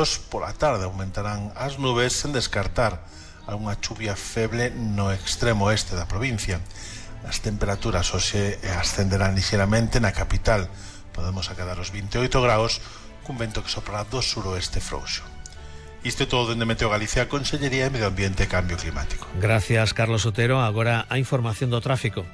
claros. Pola tarde aumentarán as nubes sen descartar algunha chuvia feble no extremo oeste da provincia. As temperaturas hoxe ascenderán lixeramente na capital. Podemos acadar os 28 graus cun vento que soprará do suroeste frouxo. Isto é todo dende Meteo Galicia, Consellería de Medio Ambiente e Cambio Climático. Gracias, Carlos Otero. Agora a información do tráfico.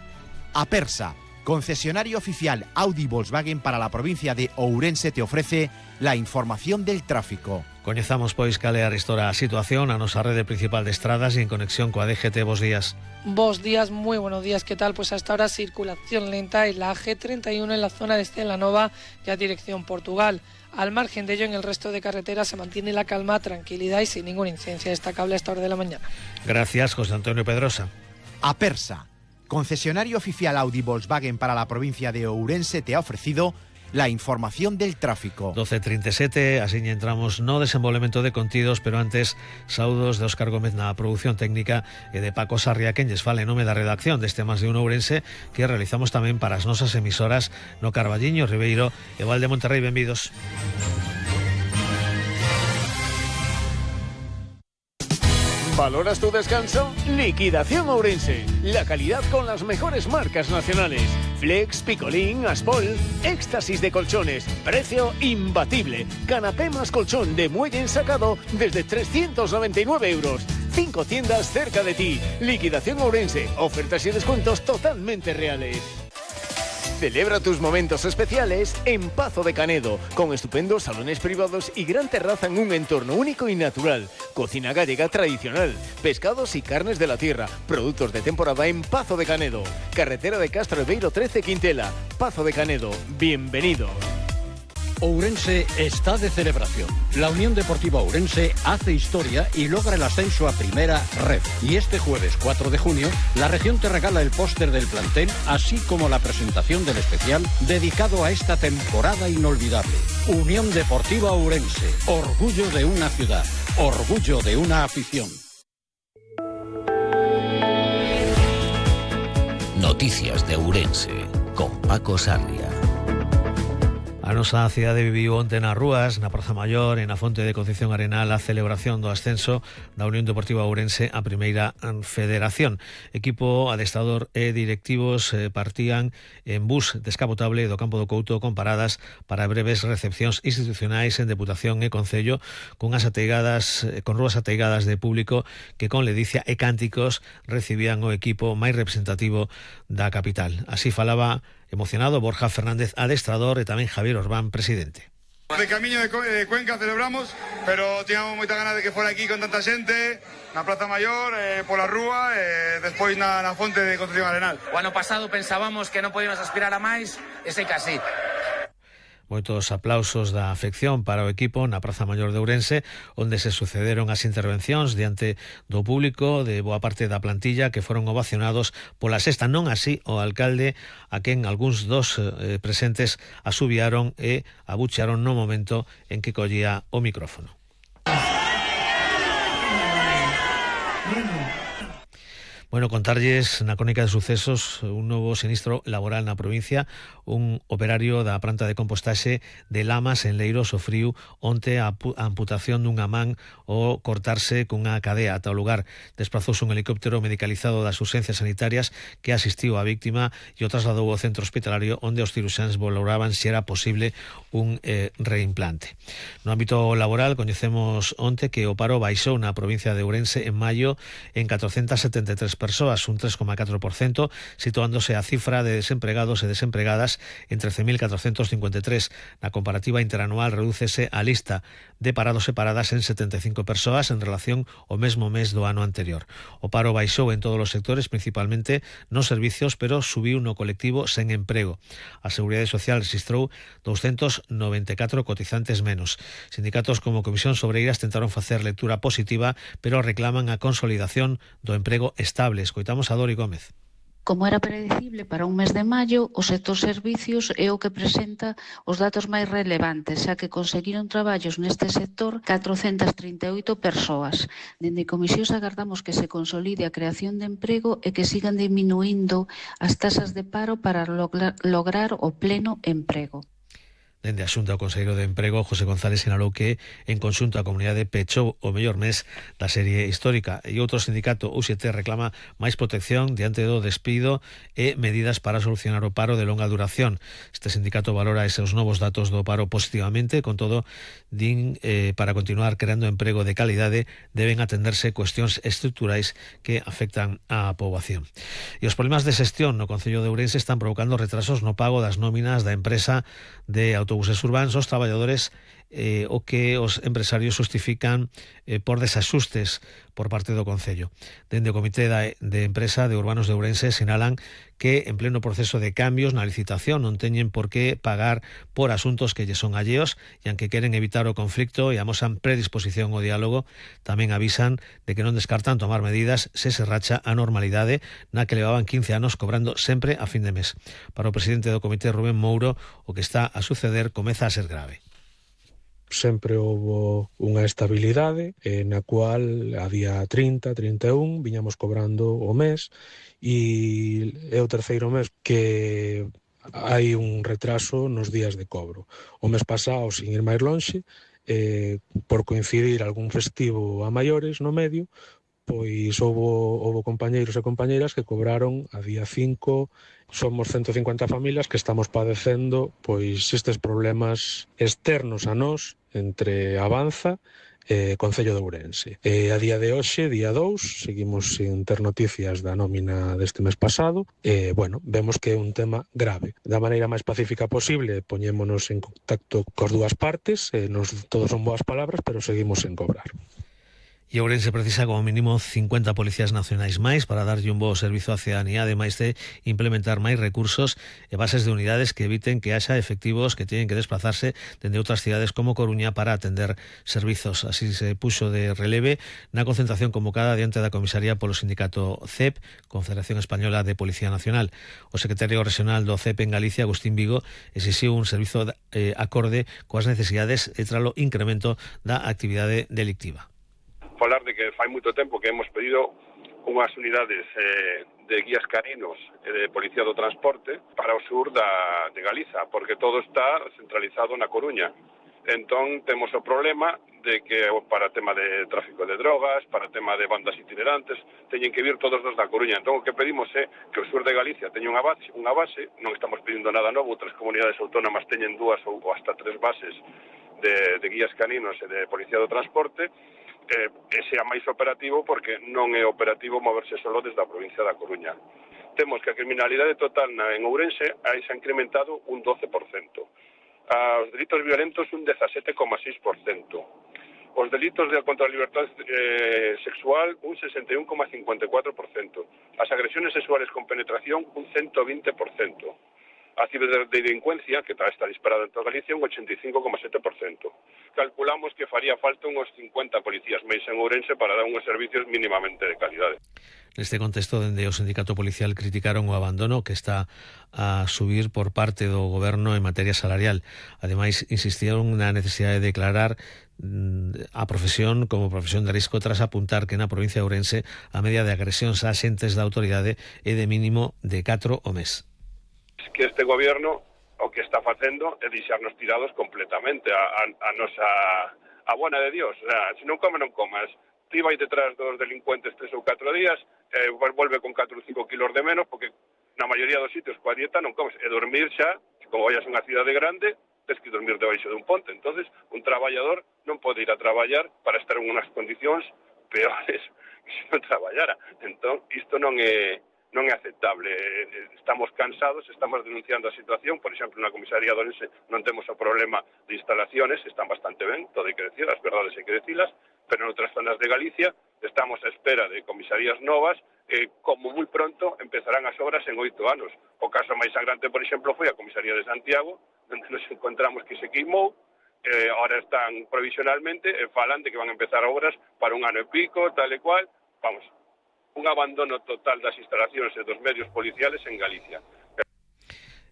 Apersa, concesionario oficial Audi Volkswagen para la provincia de Ourense, te ofrece la información del tráfico. Coñezamos, pois, cal é a situación a nosa rede principal de estradas e en conexión coa DGT. Bos días. Bos días, muy buenos días. ¿Qué tal? Pues hasta ahora circulación lenta en la G31 en la zona de Celanova, ya dirección Portugal. Al margen de ello, en el resto de carreteras se mantiene la calma, tranquilidad y sin ninguna incidencia destacable a esta hora de la mañana. Gracias, José Antonio Pedrosa. Apersa, concesionario oficial Audi Volkswagen para la provincia de Ourense, te ha ofrecido la información del tráfico. 12:37, así entramos no desenvolvemento de contidos, pero antes saúdos de Óscar Gómez na produción técnica e de Paco Sarria, quen lles fala en nome da redacción deste Más de un Ourense, que realizamos tamén para as nosas emisoras no Carballiño, Ribeiro e Val de Monterrey. Benvidos. ¿Valoras tu descanso? Liquidación Ourense. La calidad con las mejores marcas nacionales. Flex, Picolín, Aspol, éxtasis de colchones. Precio imbatible. Canapé más colchón de muelle ensacado desde 399 euros. 5 tiendas cerca de ti. Liquidación Ourense. Ofertas y descuentos totalmente reales. Celebra tus momentos especiales en Pazo de Canedo, con estupendos salones privados y gran terraza en un entorno único y natural. Cocina gallega tradicional, pescados y carnes de la tierra, productos de temporada en Pazo de Canedo. Carretera de Castro Beiro 13 Quintela. Pazo de Canedo, bienvenido. Ourense está de celebración. La Unión Deportiva Ourense hace historia y logra el ascenso a Primera Red. Y este jueves 4 de junio, la región te regala el póster del plantel, así como la presentación del especial dedicado a esta temporada inolvidable. Unión Deportiva Ourense, orgullo de una ciudad, orgullo de una afición. Noticias de Ourense, con Paco Sarria. A nosa cidade viviu onte nas rúas, na Praza Maior e na Fonte de Concepción Arenal a celebración do ascenso da Unión Deportiva Ourense a Primeira Federación. Equipo, adestrador e directivos partían en bus descapotable do Campo do Couto con paradas para breves recepcións institucionais en Deputación e Concello con rúas ateigadas de público que con ledicia e cánticos recibían o equipo máis representativo da capital. Así falaba emocionado Borja Fernández, adestrador, e tamén Javier Orbán, presidente. De camiño de Cuenca celebramos, pero tiñamos moita ganas de que fora aquí con tanta xente, na Praza Maior, pola rúa, e despois na Fonte de Concepción Arenal. O ano pasado pensábamos que non podíamos aspirar a máis, e sei que así. Moitos aplausos da afección para o equipo na Praza Maior de Ourense, onde se sucederon as intervencións diante do público de boa parte da plantilla que foron ovacionados pola sexta, non así o alcalde, a quen algúns dos presentes asubiaron e abuchearon no momento en que collía o micrófono. Bueno, contarlles na crónica de sucesos un novo sinistro laboral na provincia. Un operario da planta de compostaxe de Lamas en Leiro sofriu onte a amputación dunha man ao cortarse cunha cadea. Ata o lugar desprazouse un helicóptero medicalizado das urxencias sanitarias que asistiu á víctima e o trasladou ao centro hospitalario onde os ciruxáns valoraban se era posible un reimplante. No ámbito laboral coñecemos onte que o paro baixou na provincia de Ourense en maio en 473 persoas, un 3,4%, situándose a cifra de desempregados e desempregadas en 13.453. Na comparativa interanual redúcese a lista de parados e paradas en 75 persoas en relación ao mesmo mes do ano anterior. O paro baixou en todos os sectores, principalmente nos servicios, pero subiu no colectivo sen emprego. A Seguridade Social registrou 294 cotizantes menos. Sindicatos como Comisión Sobreiras tentaron facer lectura positiva, pero reclaman a consolidación do emprego estable. Escoitamos a Dori Gómez. Como era predecible para un mes de maio, o sector servicios é o que presenta os datos máis relevantes, xa que conseguiron traballos neste sector 438 persoas. Dende Comisións agardamos que se consolide a creación de emprego e que sigan diminuindo as tasas de paro para lograr o pleno emprego. Dende a Xunta, o conselleiro de Emprego, José González, sinalou que en conxunto a comunidade pechou o mellor mes da serie histórica, e outro sindicato, UGT, reclama máis protección diante do despido e medidas para solucionar o paro de longa duración. Este sindicato valora eses novos datos do paro positivamente, con todo, din para continuar creando emprego de calidade deben atenderse cuestións estruturais que afectan á poboación. E os problemas de xestión no Concello de Ourense están provocando retrasos no pago das nóminas da empresa de autobuses urbanos aos traballadores, o que os empresarios justifican por desaxustes por parte do Concello. Dende o Comité de Empresa de Urbanos de Ourense sinalan que en pleno proceso de cambios na licitación non teñen por que pagar por asuntos que lles son alleos, e aunque queren evitar o conflicto e amosan predisposición ao diálogo, tamén avisan de que non descartan tomar medidas se se racha a normalidade na que levaban 15 anos cobrando sempre a fin de mes. Para o presidente do Comité, Rubén Mouro, o que está a suceder comeza a ser grave. Sempre houbo unha estabilidade na cual a día 30, 31 viñamos cobrando o mes, e é o terceiro mes que hai un retraso nos días de cobro. O mes pasado, sin ir máis lonxe, por coincidir algún festivo a maiores no medio, pois houbo compañeiros e compañeiras que cobraron a día 5. Somos 150 familias que estamos padecendo pois estes problemas externos a nós entre Avanza e Concello de Ourense. A día de hoxe, día 2, seguimos sin ter noticias da nómina deste mes pasado. Vemos que é un tema grave. Da maneira máis pacífica posible, poñémonos en contacto cos dúas partes, todos son boas palabras, pero seguimos sen cobrar. E Ourense precisa como mínimo 50 policías nacionais máis para darlle un bo servizo á cidadanía, ademais de implementar máis recursos e bases de unidades que eviten que haxa efectivos que teñen que desplazarse dende outras cidades como Coruña para atender servizos. Así se puxo de releve na concentración convocada diante da comisaría polo sindicato CEP, Confederación Española de Policía Nacional. O secretario regional do CEP en Galicia, Agustín Vigo, exixiu un servizo acorde coas necesidades e tralo incremento da actividade delictiva. Falar de que fai moito tempo que hemos pedido unhas unidades de guías caninos e de policía do transporte para o sur de Galiza, porque todo está centralizado na Coruña. Entón temos o problema de que para tema de tráfico de drogas, para tema de bandas itinerantes, teñen que vir todos dos da Coruña. Entón o que pedimos é que o sur de Galicia teña unha base, non estamos pedindo nada novo, outras comunidades autónomas teñen 2 ou hasta 3 bases de guías caninos e de policía do transporte, e sea máis operativo, porque non é operativo moverse solo desde a provincia da Coruña. Temos que a criminalidade total en Ourense se ha incrementado un 12%. Os delitos violentos un 17,6%. Os delitos contra a liberdade sexual un 61,54%. As agresiones sexuales con penetración un 120%. A ciberdelincuencia, que está disparada en toda Galicia, un 85,7%. Calculamos que faría falta unos 50 policías máis en Ourense para dar uns servicios mínimamente de calidade. Neste contexto, dende o sindicato policial criticaron o abandono que está a subir por parte do goberno en materia salarial. Ademais, insistieron na necesidade de declarar a profesión como profesión de risco, tras apuntar que na provincia de Ourense a media de agresións a axentes da autoridade é de mínimo de 4 ao mes. Que este gobierno o que está facendo é deixarnos tirados completamente a nosa a buena de Dios. O sea, se non come, non comas. Ti vai detrás dos delincuentes 3 ou 4 días, volve con 4 ou 5 kilos de menos, porque na maioría dos sitios coa dieta non comes. E dormir xa, como vayas a unha cidade grande, tens que dormir debaixo de un ponte. Entonces, un traballador non pode ir a traballar para estar en unhas condicións peores que se non traballara. Entón, isto non é aceptable. Estamos cansados, estamos denunciando a situación. Por exemplo, na comisaría de Ourense non temos o problema de instalaciones, están bastante ben, todo hai que decir, as verdades hai que decilas, pero en outras zonas de Galicia estamos a espera de comisarías novas que, como moi pronto, empezarán as obras en 8 anos. O caso máis sangrante, por exemplo, foi a comisaría de Santiago, onde nos encontramos que se queimou, ahora están provisionalmente e falan de que van a empezar obras para un ano e pico, tal e cual. Vamos, un abandono total das instalacións e dos medios policiales en Galicia.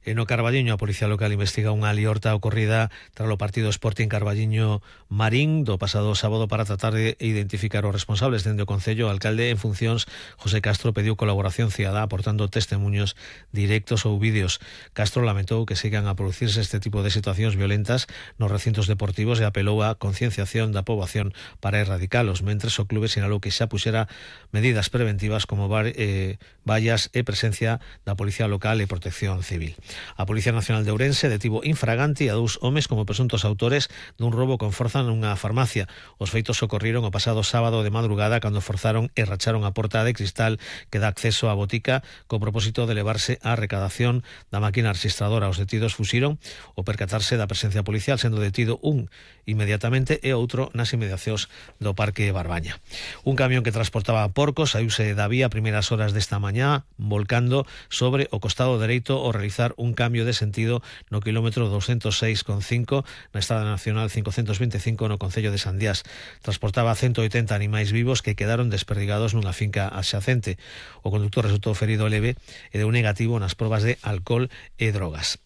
En o Carballiño, a Policía Local investiga unha liorta ocorrida tras o partido Sporting Carballiño Marín do pasado sábado para tratar de identificar os responsables. Dende o Concello, o alcalde en funcións, José Castro, pediu colaboración cidadá aportando testemunhos directos ou vídeos. Castro lamentou que sigan a producirse este tipo de situacións violentas nos recintos deportivos e apelou á concienciación da poboación para erradicalos, mentres o clube sinalou que xa puxera medidas preventivas como vallas e presencia da Policía Local e Protección Civil. A Policía Nacional de Ourense detivo infraganti a 2 homes como presuntos autores dun roubo con forza nunha farmacia. Os feitos ocorriron o pasado sábado de madrugada cando forzaron e racharon a porta de cristal que dá acceso á botica co propósito de levarse a recadación da máquina registradora. Os detidos fuxiron ao percatarse da presencia policial, sendo detido un inmediatamente e outro nas inmediacións do Parque Barbaña. Un camión que transportaba porcos saíuse da vía a primeiras horas desta mañá, volcando sobre o costado dereito ao realizar un cambio de sentido no kilómetro 206,5 na Estrada Nacional 525 no Concello de Sandiás. Transportaba 180 animais vivos que quedaron desperdigados nunha finca adxacente. O conductor resultou ferido leve e deu negativo nas probas de alcohol e drogas.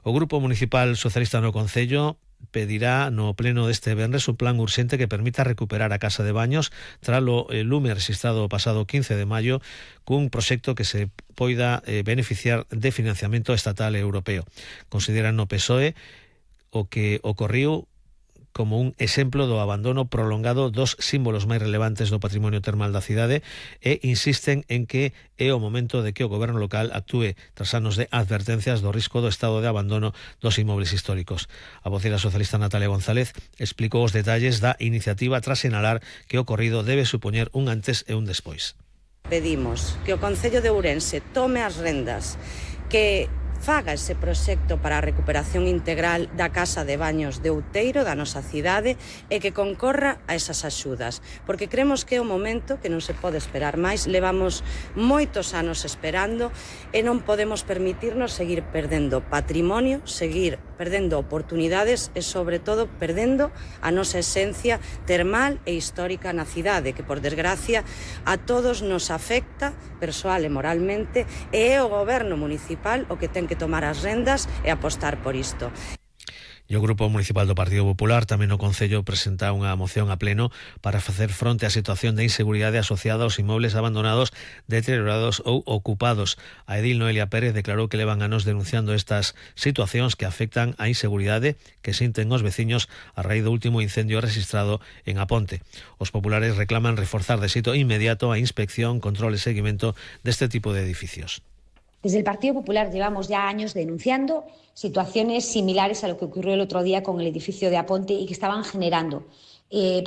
O Grupo Municipal Socialista no Concello pedirá no pleno deste venres un plan urxente que permita recuperar a casa de baños tras o lume registrado o pasado 15 de maio cun proxecto que se poida beneficiar de financiamento estatal e europeo. Consideran no PSOE o que ocorriu como un exemplo do abandono prolongado dos símbolos máis relevantes do patrimonio termal da cidade e insisten en que é o momento de que o goberno local actúe tras anos de advertencias do risco do estado de abandono dos inmobles históricos. A vocera socialista Natalia González explicou os detalles da iniciativa tras sinalar que o ocorrido debe supoñer un antes e un despois. Pedimos que o Concello de Ourense tome as rendas, que faga ese proxecto para a recuperación integral da casa de baños de Outeiro, da nosa cidade, e que concorra a esas axudas, porque creemos que é o momento que non se pode esperar máis. Levamos moitos anos esperando e non podemos permitirnos seguir perdendo patrimonio, seguir perdendo oportunidades e, sobre todo, perdendo a nosa esencia termal e histórica na cidade, que, por desgracia, a todos nos afecta persoal e moralmente, e é o goberno municipal o que ten que tomar as rendas e apostar por isto. E o Grupo Municipal do Partido Popular tamén no Concello presenta unha moción a pleno para facer fronte á situación de inseguridade asociada aos inmobles abandonados, deteriorados ou ocupados. A edil Noelia Pérez declarou que levan anos denunciando estas situacións que afectan á inseguridade que sinten os veciños a raíz do último incendio registrado en Aponte. Os populares reclaman reforzar de xeito inmediato a inspección, control e seguimento deste tipo de edificios. Desde el Partido Popular llevamos ya años denunciando situaciones similares a lo que ocurrió el otro día con el edificio de Aponte y que estaban generando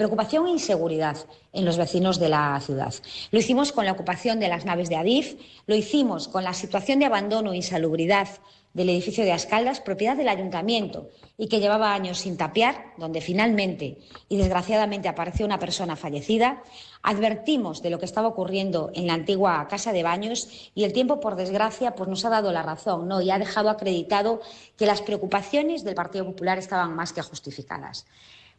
preocupación e inseguridad en los vecinos de la ciudad. Lo hicimos con la ocupación de las naves de Adif, lo hicimos con la situación de abandono e insalubridad del edificio de Ascaldas, propiedad del ayuntamiento, y que llevaba años sin tapiar, donde finalmente y desgraciadamente apareció una persona fallecida. Advertimos de lo que estaba ocurriendo en la antigua casa de baños y el tiempo, por desgracia, pues nos ha dado la razón, ¿no? Y ha dejado acreditado que las preocupaciones del Partido Popular estaban más que justificadas.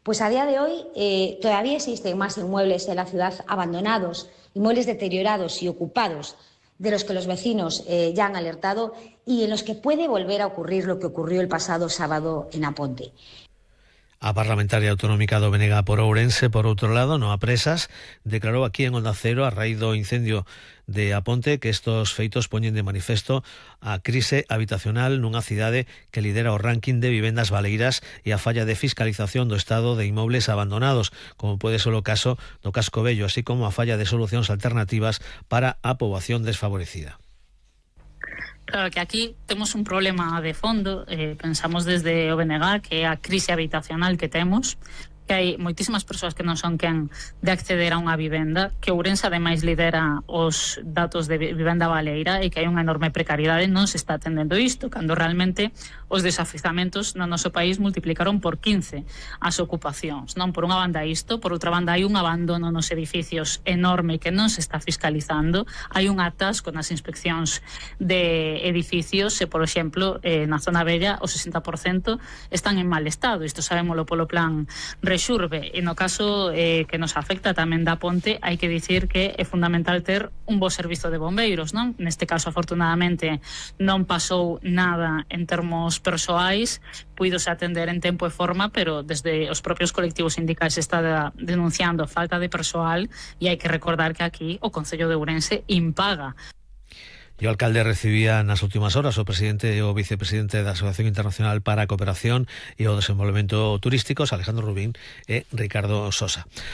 Pues a día de hoy todavía existen más inmuebles en la ciudad abandonados, inmuebles deteriorados y ocupados, de los que los vecinos ya han alertado y en los que puede volver a ocurrir lo que ocurrió el pasado sábado en Aponte. A parlamentaria autonómica do Benega por Ourense, por outro lado, Noa Presas, declarou aquí en Onda Cero a raíz do incendio de Aponte que estos feitos poñen de manifesto a crise habitacional nunha cidade que lidera o ranking de vivendas baleiras e a falla de fiscalización do estado de inmobles abandonados, como pode ser o caso do Casco Vello, así como a falla de solucións alternativas para a poboación desfavorecida. Claro que aquí temos un problema de fondo, pensamos desde o BNG que é a crise habitacional que temos, que hai moitísimas persoas que non son quen de acceder a unha vivenda, que Ourense ademais lidera os datos de vivenda baleira e que hai unha enorme precariedade, non se está atendendo isto, cando realmente os desafizamentos no noso país multiplicaron por 15 as ocupacións. Non por unha banda isto, por outra banda hai un abandono nos edificios enorme que non se está fiscalizando, hai un atasco nas inspeccións de edificios e, por exemplo, na zona bella o 60% están en mal estado, isto sabémolo polo plan rexurbe, e no caso que nos afecta tamén da Ponte, hai que dicir que é fundamental ter un bo servizo de bombeiros, non? Neste caso, afortunadamente, non pasou nada en termos persoais, puidose atender en tempo e forma, pero desde os propios colectivos sindicais está denunciando falta de persoal, e hai que recordar que aquí o Concello de Ourense impaga. E o alcalde recibía nas últimas horas o presidente e o vicepresidente da Asociación Internacional para a Cooperación e o Desenvolvemento Turísticos, Alejandro Rubín e Ricardo Sosa.